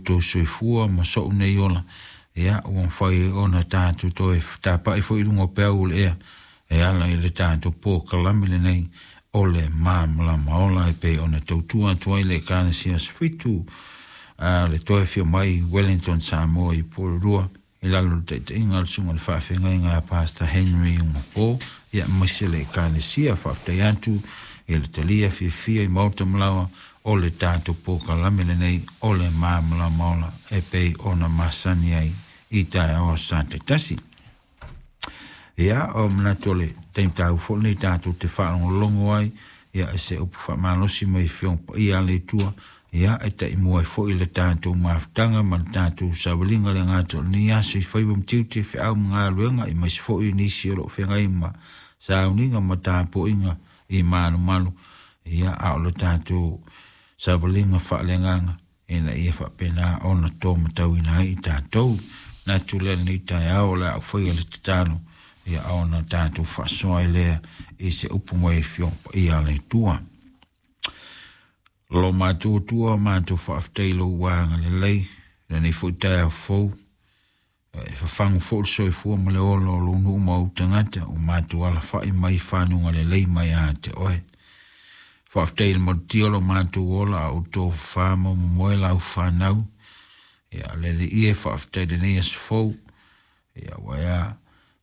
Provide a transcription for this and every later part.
outou soifua ma so'u nei ola, ia, ua mafai ai ona tatou toe fetapa'i foi i luga o peau o le ea e ala i le tatou polokalame lenei o le Malamalama Ola e pei ona tautua atu ai le Ekalesia Aso Fitu a le toe afio mai Wellington Samoa i Porirua i lalo o le taitaiga a le Susuga i le Faafeagaiga a Pastor Henry Ugapo, ia, aemaise le Ekalesia. Faafetai atu i le talia fiafia i maota ma laoa o le tatou polokalame lenei o le Malamalama Ola e pei ona masani ai i taeao aso Sa taitasi. Ia, o manatu o le taimi taua foi lenei tatou te faalogologo ai, ia, i se upu faamalosi mai Afioga Paia a le Atua, ia, e taimua ai foi le tatou mafutaga ma le tatou savaliga le gata o lenei aso i faiva ma tiute, feau ma galuega, aemaise foi nisi o lo o feagai ma sauniga ma tapuaiga i malumalu, ia, a o le tatou savaliga faaleagaga ina ia faapena ona tomatauina ai i tatou. Manatu lea lenei taeao o le a ou faia le tatalo, ia, ona tatou faasoa ai lea i se upu mai Afioga Paia a le Atua. Lo matou Atua, matou faafetai i lou agalelei lenei foi taeao fou, e fafagu foi le soifua ma le ola o lou nuu ma ou tagata ua matou alafai mai fanuga lelei mai ia te oe. Faafetai i le malutia o lo matou ola a outou fafā ma momoe lau fanau. Ia, le Alii e, faafetai i lenei aso fou. Ia, ua ea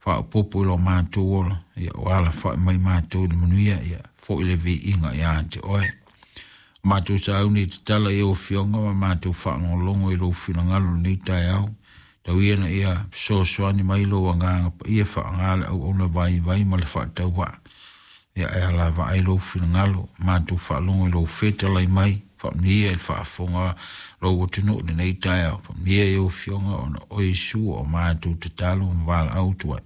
faaopoopo i lo matou ola, ia, ua alafai mai matou i le manuia, ia, foi le viiga ia te oe. Matou sauni i tatala i ou afioga ma matou faalogologo i lou finagalo lenei taeao. Tau ia ina ia fesoasoani mai lou agaga paia faaaoga le auauna vaivai ma le faatauvaa. Ia e alavaa ai lou finagalo, matou faalogo i lou fetalai mai, faamanuia i le faafofoga lou atunuu i lenei taeao. Faamanuia i ou afioga ona o Iesu o matou tatalo ma valaau atu ai.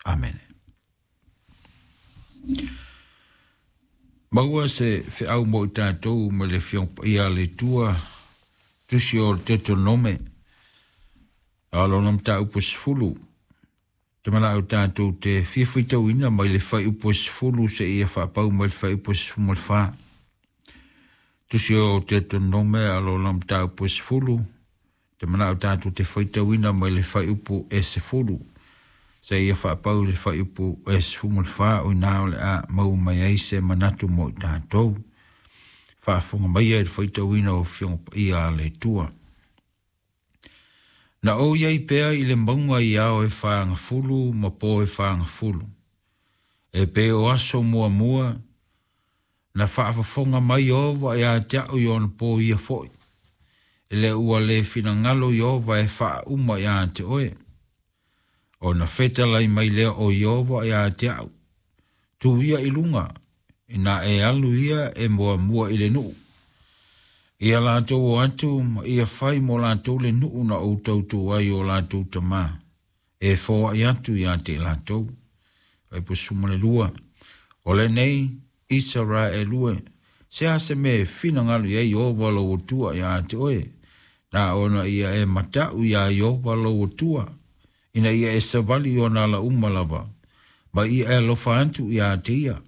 Amene. Maua se feau mo i tatou mai le Afioga Paia a le Atua, tusi o le Deuteronome, a o lona mataupu e 10. Te manao tatou te fia faitauina mai le fuaiupu e 10 seia faapau mai le fuaiupu e 14. Tusi o Deuteronome a o lona mataupu e 10, te manao tatou te faitauina mai le fuaiupu e 10 seia faapau i le fuaiupu e 14, o ina o le a maua mai ai se manatu mo i tatou. Faafofoga maia i le faitauina o Afioga Paia a le Atua. Na ou i ai pea i le mauga i ao e fagafulu ma po e fagafulu, e pei o aso muamua na faafofoga mai Ieova ia te a'u i ona po ia foi, e le ua le finagalo Ieova e faauma ia te oe. Ona fetalai mai lea o Ieova ia te a'u, Tū ia i luga, inā e alu ia e muamua i le nuu. Ia latou o atu ma ia fai mo latou le nuu na ou tautu ai o latou tamā, e foai atu ia te i latou. Fuaiupu 12, O lenei Isaraelu e, se a se mea e finagalo i ai Ieova lou Atua ia te oe, na ona ia e mataʻu iā Ieova lou Atua, ina ia e savali i ona ala uma lava, ma ia e alofa atu ia te ia,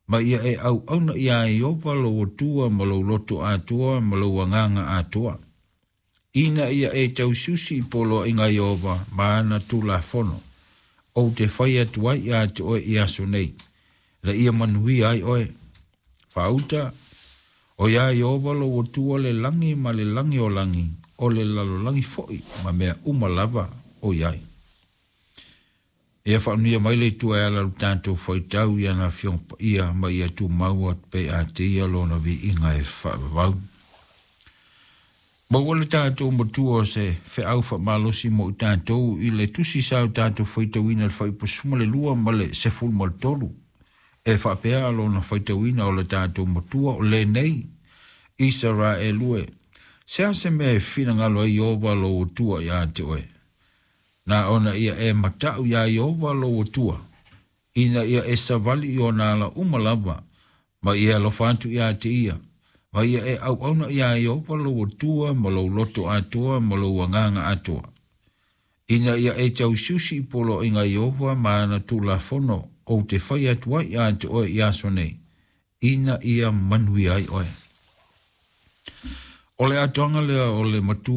ma ia e auauna iā Ieova lou Atua ma lou loto atoa ma lou agaga atoa, ina ia e tausiusi i poloaiga a Ieova ma ana tulafono, ou te fai atu ai ia te oe i aso nei, ina ia manuia ai oe. Faauta, o iā Ieova lou Atua le lagi ma le lagi o lagi, o le lalolagi foi ma mea uma lava o i ai. Ia faamanuia mai le Atua e ala i lo tatou faitau i ana Afioga Paia ma ia tumau atu pea ia te ia lona viiga e faavavau. Maua le tatou Matua o se feau faamalosi mo i tatou i le tusi sa o tatou faitauina i le fuaiupu 12 ma le 13. E faapea lona faitauina o le tatou Matua o lenei, Isaraelu e, se a se mea e finagalo ai Ieova lou Atua ia te oe? Na ona ia e mataʻu iā Ieova lou Atua, ina ia e savali i ona ala uma lava, ma ia e alofa atu ia te ia, ma ia e auauna iā Ieova lou Atua ma lou loto atoa ma lou agaga atoa, ina ia e tausiusi i poloaiga a Ieova ma ana tulafono ou te fai atu ai ia te oe i aso nei, ina ia manuia ai oe. O le atoaga lea o le Matua.